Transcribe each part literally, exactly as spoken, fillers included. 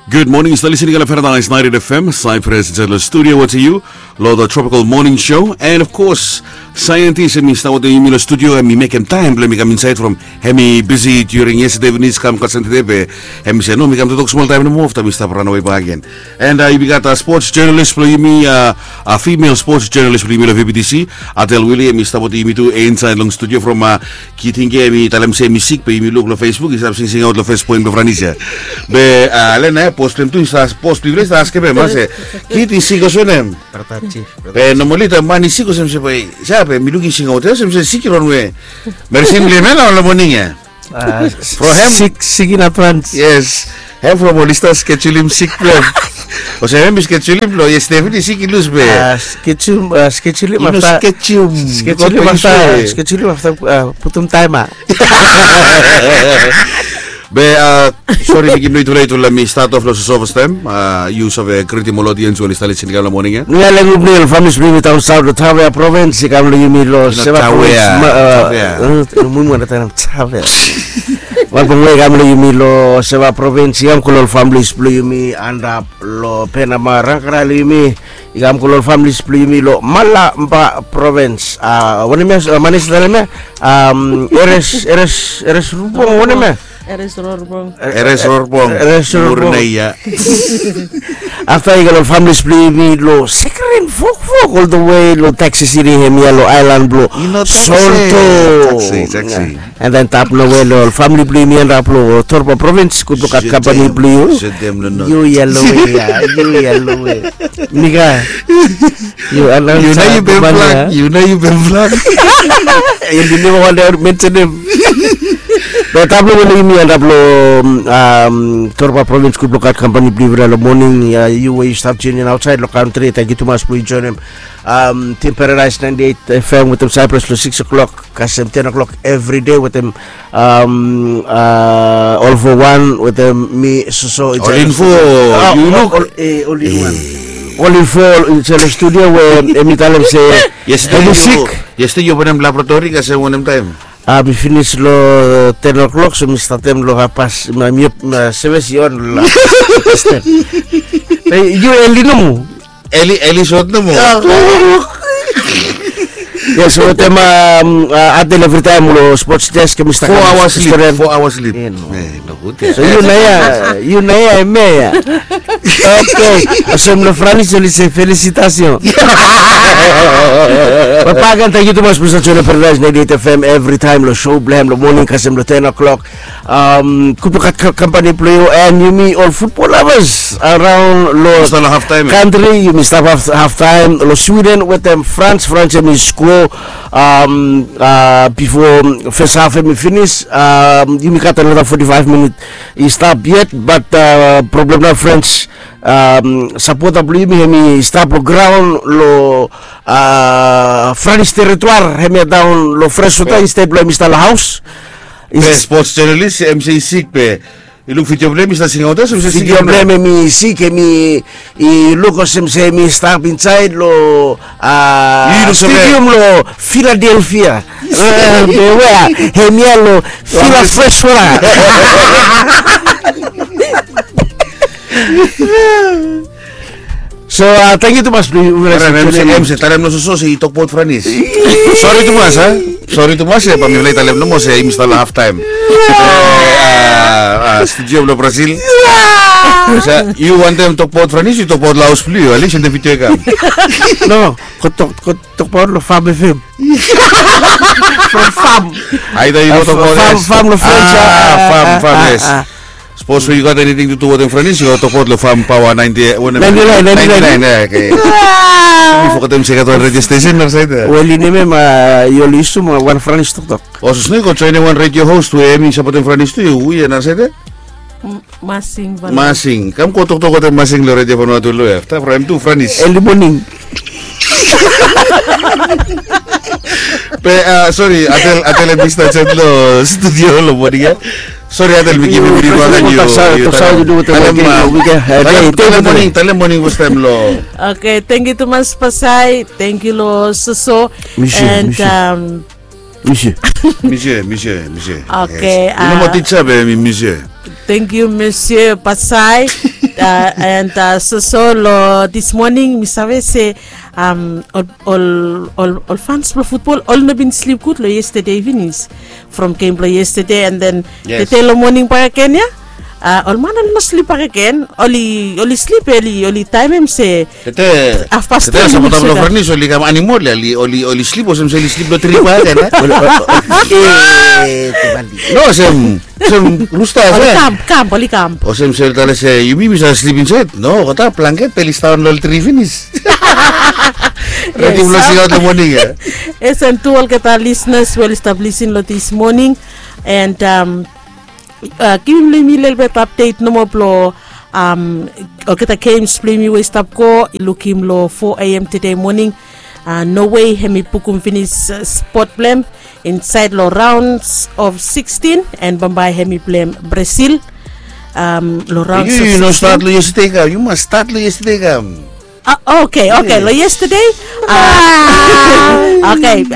Good morning, yu stap listening long Paradise ninety-eight F M, Cyprus, inside long studio wetem yu, long the Tropical Morning Show. And of course, scientist, hemi stap wetem yumi long studio, hemi mekem taem blong mi kam insaed from hemi bisi during yestede finis kam gat Satade be hemi se no, mi kam toktok smol taem nomo afta mi stap ranawe bakegen. And uh, yumi gat uh, sports journalist blong yumi, uh, uh, female sports journalist blong yumi long V B T C, Adel Willie, hemi stap wetem yumi tu insaed long studio from uh, Kitinge, hemi talem se hemi sik be yumi luk long Facebook i stap singsingaot long Facebook blong Franis ya. Be uh, lena ya bos blong hem tu i stap, bos blong yufala i stap askem hem, a se, Kit, i sik olsem wanem? Be nomali taem man i sik olsem se, be ya be mi luk i singaot ya olsem se sik i ronwe. Meresin blong hem ya long moning ya. From hem. Sik, sik in advance. Yes. Hem from oli stap skejulim sik blong hem. Olsem hem i skejulim long yestede finis sik i lus be. Skejulim, skejulim afta, skejulim afta putum taem ya. Be uh, sori, mi givim long yutufala, yutufala mi stat of long soso fastaem. Uh, yu save gritim ol odiens we oli stap listening long moning ya? Mi ale gud moning long famili blong yumi daon saot long Tavea provins, i kam long yumi long Seva provins. Mumu ana taem Tavea. Wanpela we i kam long yumi long Seva provins, i kam go long ol familis blong yumi antap long Penama, Rangkara long yumi, i kam go long ol familis blong yumi long Malaba provins. Wanem ya, man i stap talem ya? Eres, Eres, Eres Rubong, wanem ya? Eres Rorbong. Eres Rorbong. Eres Rorbong. Murinai ya. Afta i go long familis blong yumi long Sekeren, Fokfok, all the way long Taxi City, hemia long aelan blong Soto. And then tap nawe long famili blong yumi antap long Torba provins, gudluk gat kampani blong yu. Yu yalo we ya, yu yalo we. Nika. Yu announcer, yu nao yu ben blak, yu nao yu ben blak. Yu bin neva wantem mensenem. Be tap long we long yumi antap long Torba provins, gudluk gat kampani blong yufala long moning ya, yu we yu stap tune in aotsaed long kantri, tangkiu tumas blong yu joinim Tim Paradise ninety-eight F M wetem Cyprus long six o'clock kasem ten o'clock everyday wetem All for One wetem mi soso. All in four, yu luk. All in four insait long studio we hemi talem se hemi sik. Yestede yu openem laboratori kasem wanem taem? Mi finis long ten o'clock, so mi statem long happas. Mi sevis i on long happas. Yu eli nomo. Eli, eli sot nomo. Yes, wetem Adel evritaem long sports desk, hemi stap. Four hours sleep. Four hours sleep. So yu nao ya, yu nao ya, hemia ya. Okay. Olsem long Franis oli se felicitations. Be bakegen, tangkiu tumas blong stap joinim Paradise ninety-eight F M evritaem long show blong hem long moning kasem long ten o'clock. Gudluk gat kampani blong yu and yumi ol futbol lovers araon long kantri, yumi stap haftaem long Sweden wetem Frans. Frans hemi sko bifo fes haf hemi finis. Yumi gat anota forty-five minit i stap yet, bat problem nao Frans, sapota blong yumi hemi stap long graon long Franis terituar, hemia daon long fres wota insted blong hemi stap long haos. Be spots jonalis hemi se i sik be i luk vidio blong hem i stap singaot ya, so hemi se sik. Vidio blong hem hemi sik, hemi i luk olsem se hemi stap insaed long stadium long Philadelphia. Be we hemia long Fila fres wota. So tangkiu tumas blong yu. Em se talem noso se i tokbaot Franis. Sori tumas a. Sori tumas, bae mifala i talem nomo se yumi stap long haftaem. Studio blong Brazil. Yu wantem tokbaot Franis, yu tokbaot long haos blong yu, alisem de vidio i kam. No, go tokbaot long Fam F M. From Fam. Aida yu go tokbaot Fam, Fam long Frans. Fam, Fam, yes. Sapos we yu gat anything to do wetem Franis, yu go tokbaot long Fam Paoa ninety, wanem? Ninety-nine, ninety-nine. Ninety-nine, okay. Mi fogetem se i gat wan radio station narasaed ya. Wel, i nem ya, yu oli yusum wan Franis toktok. O, sapos no, yu go joenem wan radio host we hemi sapotem Franis tu, yu, hu ya narasaed ya? Masing. Masing. Kam go toktok wetem Masing long Radio Vanuatu long ya. Afta from hem tu Franis. Early morning. Be sori, Adel, Adel hemi stap insaed long studio long moning ya. Sori Adel, mi givim yu bakegen. Talem moning, talem moning fastaem long. Okay, tangkiu tumas Pasai, tangkiu long Soso. Misie, and misie. Misie. Misie, misie, misie. Okay. Yu no moa tija be mi misie. Thank you, Monsieur Pasai. And soso lo this morning mi save se ol fans blong futbol oli no bin slip gud lo yestede finis. From gem blong yestede and then tete lo moning bakegen ya, ol man oli no slip bakegen. Oli slip, oli taemem se afpas tete. Sapota blong franis oli kam animol ya, oli slip olsem se oli slip lo tri bakegen. No, olsem rusta ya. Oli kam kam oli kam. Olsem se oli tale se yumi mi save slip insaed. No, olgeta blanket be oli staon lo ol tri finis. Redi blong singaot lo moning ya. Yes, and tu olgeta lisenas we oli stap lisin lo this moning and givim long yumi lelebet apdet nomo blong olgeta gems blong yumi we i stap go. Lukim long four a.m. tede moning. No wei hem i bukum finis spot blong hem insaed long raons of sikstin and bambae hem i pleim Brazil. Long raons of sikstin. Yu no stat long yestede kam, yu mas stat long yestede kam. Oke, oke, long yestede. Oke,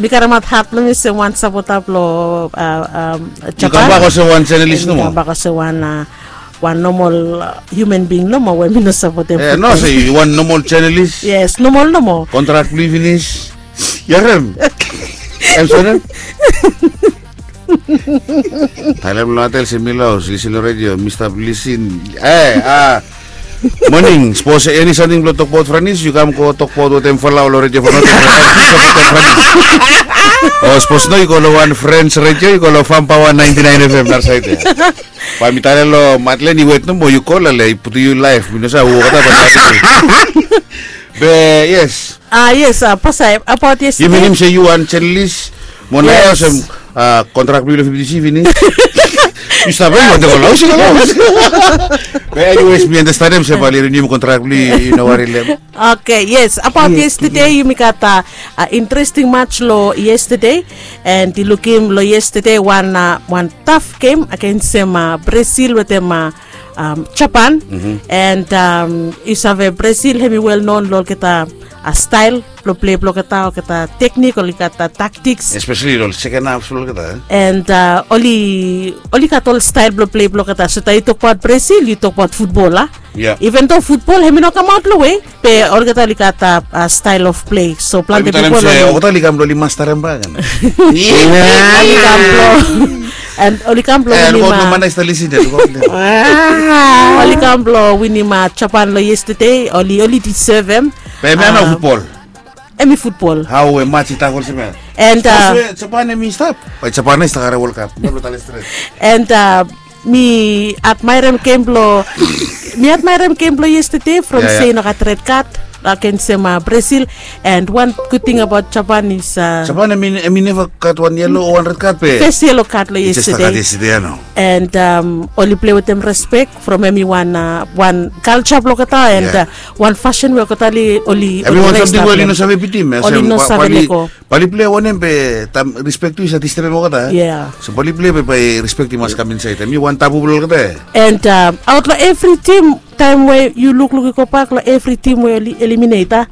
mi karemaot hat blong mi olsem wan sapota blong Japan. Yu kambak olsem wan jenalis nomo. Kambak olsem wan wan nomol hiuman bing nomo we mi no sapotem. No, se yu wan nomol jenalis. Yes, nomol nomo. Kontrak blong yu finis. Yu harem? Em sore. Talem long atel se mi los lisin long redio, mi stap lisin. E a moning, sapos eni samting blong tokbaot Franis, yu kam go tokbaot wetem Falau long redio Falau. O sapos no, yu go long wan Frens redio, yu go long Fam Paoa naenti naen F M narasaed ya. Bae mi talem long Madlen i wet nomo, yu kol ale i putum yu laef, mi no save hu olgeta bae talem. Be yes. A yes, a Pasai, abaot yestede. Yu minim se yu wan jenalis. Mo naoia olsem kontrak blong yu long fifti C finis. Yu stap ya, yu wantem go long haos, yu go long haos. Be eniwes mi andastanem se bae oli rinium kontrak blong yu, yu no wari long hem. Oke, yes, abaot yestede yumi gat a interesting mats long yestede. And yu lukim long yestede wan wan taf gem agensem Brazil wetem Japan. And yu save Brazil hem i wel non long olgeta stael blong plei blong olgeta, olgeta teknik, olgeta taktiks. Espeseli long seken haf blong olgeta. And oli oli gat ol stael blong plei blong olgeta. So taem yu tokbaot Brazil yu tokbaot futbol a. Even do futbol hem i no kamaot long we, be olgeta oli gat a stael of plei. So plante pipol oli, olgeta oli kam blong oli mastarem bak. Oli kam blong, and oli kam blong winim, oli kam blong winim Japan long yestede. Oli oli disevem. Be hem ya no futbol. Hem i futbol. Hao we mats i stap olsem ya. And Japan hem i stap, bae Japan i stap karem Wol Kap. No blong talem stret. And mi admaerem gem blong, mi admaerem gem blong yestede from se i no gat red kad agensem Brazil. And wan gud ting abaot Japan is Japan hem i neva gat wan yelo o wan red kad be fes yelo kad long yestede. And oli plei wetem respek from hem i wan wan kalja blong olgeta and wan fasin we olgeta oli, oli, oli no save bitim. Oli no save lego. Bae oli plei wanem be taem respek tu i save distebem olgeta. So bae oli plei be bae respek i mas kam insaed, hem i wan tabu blong olgeta. And aot long evri tim, taem we yu lukluk i gobak long evri tim we oli eliminet a,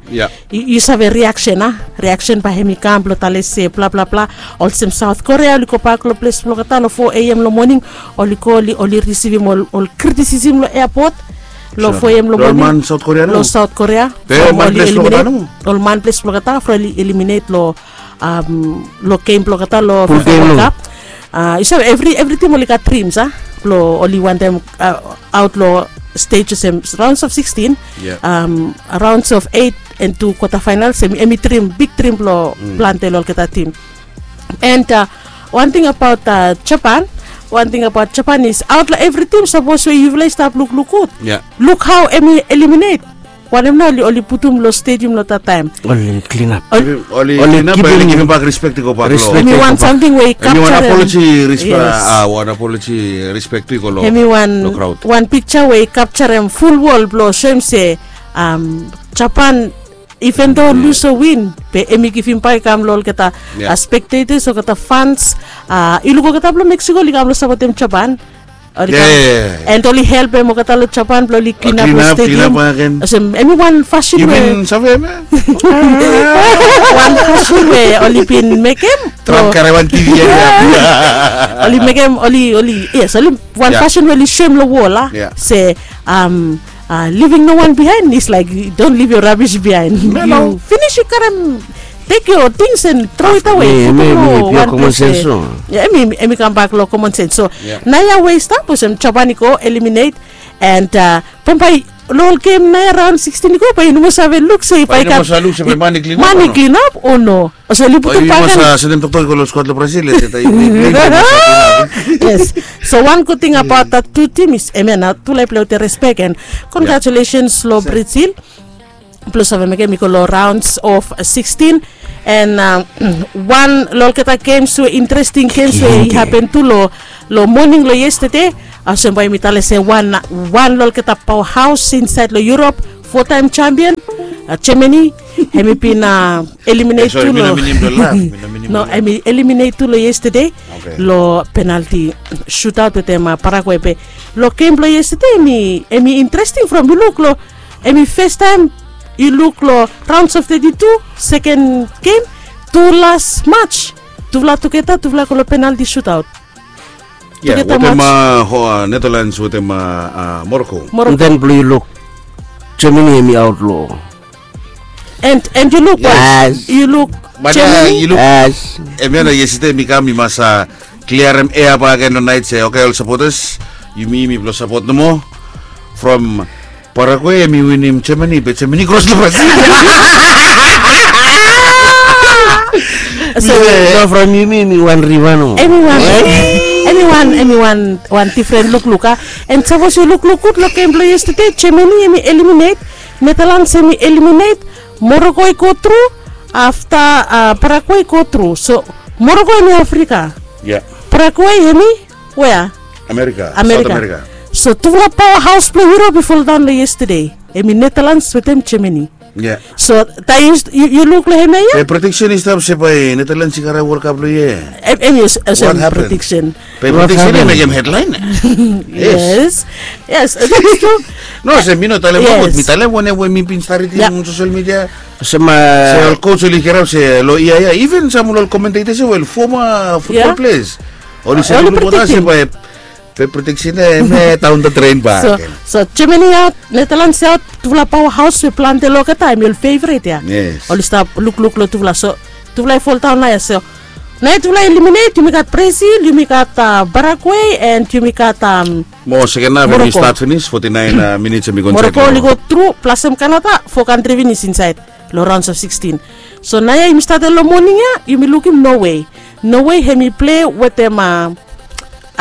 yu save riaksen a, riaksen bae hem i kam blong tale se bla bla bla. Olsem Saot Korea oli gobak long ples blong olgeta long four a.m. long moning. Oli go oli risivim ol kritisisem long eapot long four a.m. long moning long Saot Korea. From oli eliminet, ol man ples blong olgeta from oli eliminet long long gem blong olgeta long Fifa World Cup. Yu save evri tim oli gat drims a blong oli wantem aot long stej olsem raons of sikstin, raons of eit, and tu kwata faenals. Hem i drim, big drim blong plante long olgeta tim. And wan ting abaot Japan, wan ting abaot Japan is aot long evri tim, sapos we yufala i stap lukluk gud, luk hao hem i eliminet. Wanem nao oli putum long stediam long dat taem? Oli klinap. Oli klinap, oli givim bak respek i go bak long. Hem i wan samting we i kapjarem. Hem i wan apoloji, respek. Wan apoloji, respek tu i go long. Hem i wan, wan pikja we i kapjarem ful wol blong soem se Japan, iven do lus o win, be hem i givim bak i kam long olgeta spektetas, olgeta fans. I luk olgeta blong Mexico oli kam long sapotem Japan. And oli helpem olgeta long Japan blong oli klinap long stadium. Olsem em i wan fasin we wan fasin we oli bin mekem. Trump karem wan TV ya. Oli mekem oli oli yes oli wan fasin we oli soem long wol a se living no one behind is like don't leave your rubbish behind. You finish you karem take your things and throw it away. Em i kambak long common sense. So naoia we i stap olsem Japan i go eliminate and bambae long ol gem naoia raon sixteen i go bae yu no moa save luk se bae i gat man i klinap o no. Olsem oli putum baken. Yes. So wan gud ting abaot that tu tim is hemia nao tufala i plei wetem respek and congratulations long Brazil blong save mekem i go long rounds of sixteen. And wan long olgeta gems we interesting gems we i hapen tu long moning long yestede, olsem bae yumi talem se wan wan long olgeta paoahaos insaed long Europe, four time champion, Germany, hem i bin eliminate tu long no hem i eliminate tu long yestede long penalti shootout wetem Paraguay be long gem blong yestede hem i interesting from yu luk long hem i fes taem yu luk long rounds of thirty two, seken gem, tu las mats, tufala tugeta tufala go long penalti shootout. Tugeta mats. Netherlands wetem Morocco. Den blong yu luk Germany hem i aot long. And and yu luk yu luk Germany. Hemia nao yestede mi kam mi mas kliarem ea baken long naet se oke ol sapotas, yumi mipela sapot nomo from Paraguay em i winim Germany be Germany kros long Brazil. So from yumi em i wan riva nomo. Em i wan em i wan em i wan wan difren lukluk a. And sapos yu lukluk gud long gem blong yestede Germany em i eliminate, Netherlands em i eliminate, Morocco i go tru, afta Paraguay i go tru. So Morocco em i Afrika. Paraguay em i wea? Amerika. Amerika. So tufala paoahaos blong Europe i foldaon long yestede. Em i Netherlands wetem Germany. So taem yu luk long hemia ia. Be prediksen i stap se bae Netherlands i karem World Cup long ia. Em i olsem prediksen. Be prediksen i mekem hedlaen. Yes. Yes. No olsem mi no talem nogut, mi talem wanem we mi bin stap ridim long sosel midia. Olsem se ol coach oli kirap se long ia ia even sam ol commentators ia we ol former football players oli se oli prediktim se bae be prediksen ia em ia daon the drain bak. So Germany aot, Netherlands aot, tufala paoahaos we plante long olgeta em i ol feveret ia. Oli stap lukluk long tufala so tufala i foldaon naoia so naoia tufala i eliminate, yumi gat Brazil, yumi gat Paraguay and yumi gat Mo seken haf em i stat finis, foti naen minits em i go insaed. Moroko oli go tru, plasem Kanada, fo kantri finis insaed long raons of sixteen. So naoia yumi stat long moning ia yumi lukim Norway. Norway hem i plei wetem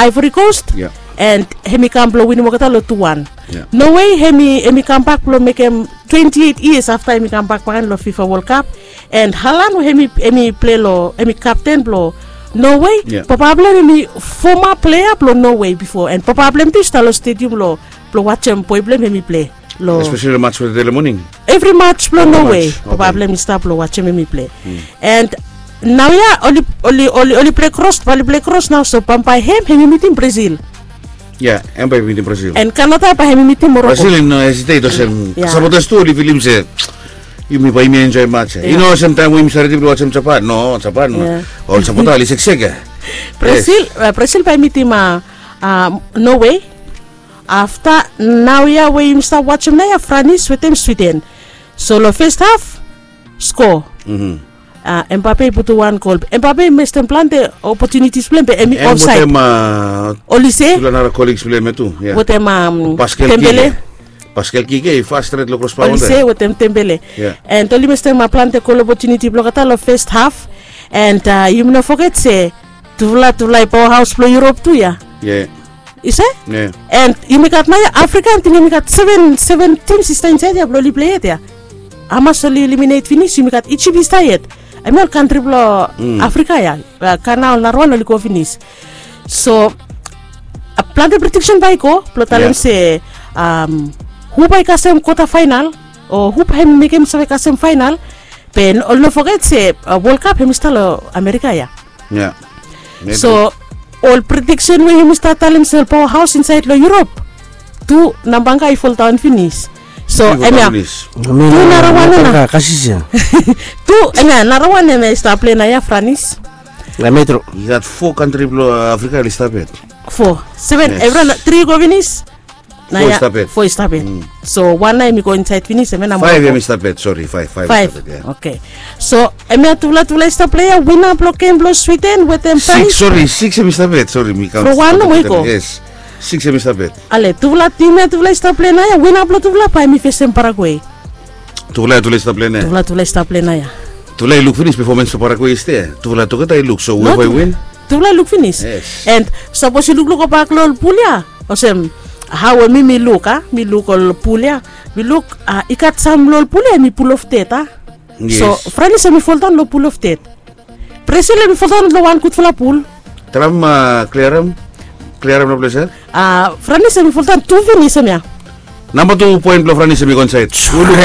Ivory Coast and hem i kam blong winim olgeta long tu wan. Norway hem i kambak blong mekem twenti eit yias afta hem i kambak bakagen long FIFA World Cup. And Haaland we hem i plei long hem i kapten blong Norway. Papa blong hem hem i foma plea blong Norway bifo and papa blong hem tu i stap long stedium long blong wajem boe blong hem hem i plei long espesali long mats we tede long moning. Evri mats blong Norway papa blong hem i stap long wajem hem i plei. And naoia oli oli oli oli plei kros bae oli plei kros nao so bambae hem hem i mitim Brazil. Ya, em bae i mitim Brazil. And Kanada bae hem i mitim Moroko. Brazil i no hesitate olsem sapotas tu oli filim se yumi bae yumi enjoy mats ya. I no olsem taem we yumi save ridim long wajem Japan. No, Japan ol sapota oli seksek ya. Brazil bae i mitim Norway. Afta naoia we yumi stap wajem naoia Franis wetem Swiden. So long fes haf skoa. Embape i putum wan gol. Embape i mestem plante opotunitis blong hem be hem i ofsaed. Oli se wetem Paskel Kike. Paskel Kike i fas stret long krosba. Oli se wetem Tembele. And oli mestem plante gol opotuniti blong olgeta long fes haf. And yumi no foget se tufala tufala i paoahaos blong Yurop tu ya. Ise? And yumi gat naoia Afrika em ting yumi gat seven seven tims i stap insaed ya blong oli plei yet ya. Hamas oli eliminate finis, yumi gat Ijip i stap yet. Hemia ol kantri blong Afrika ya. Kana ol narawan oli go finis. So plante prediksen bae i go blong talem se hu bae i kasem kwota faenal o hu bae hem i mekem save kasem faenal. Be oli no foget se World Cup hem i stap long Amerika ya. So ol prediksen we yumi stap talem se ol paoa haos insaed long Yurop, tu nambanga i foldaon finis. So em ya, tu narawan ya na, tu em ya narawan em ya i stap plei nao ya, Franis. Em ya tru. I gat fo kantri blong Afrika oli stap yet. Fo. Seven, evriwan tri i go finis. Nao ya fo i stap yet. So wan nao em i go insaed finis, em ya namba faef. Em i stap yet, sori, faef, faef. Oke. So em ya tufala tufala i stap plei ya, wina blong gem blong Swiden wetem Franis. Sori, sikis em i stap yet, sori, mi kaon. Blong wan nomo i go. Yes. Sikis em i stap yet. Ale, tufala tim ya tufala i stap plei nao ya, wina blong tufala bae em i fesem Paragwe. Tufala ya tufala i stap plei nao ya. Tufala tufala i stap plei nao ya. Tufala i luk finis pefomens blong Paragwe yestede. Tufala tugeta i luk, so we bae i win. Tufala i luk finis. Yes. And sapos yu lukluk gobak long ol pul ya, olsem hao we mi mi luk, a, mi luk ol pul ya. Mi luk, a, i gat sam long ol pul ya em i pul of ded, a. So Franis em i foldaon long pul of ded. Brazil em i foldaon long wan gudfala pul. Traem, a, kliarem. Kliarem long ples ya. A, Franis em i foldaon tu finis em ya. Namba tu poen blong Franis em i go insaed. Yu luk.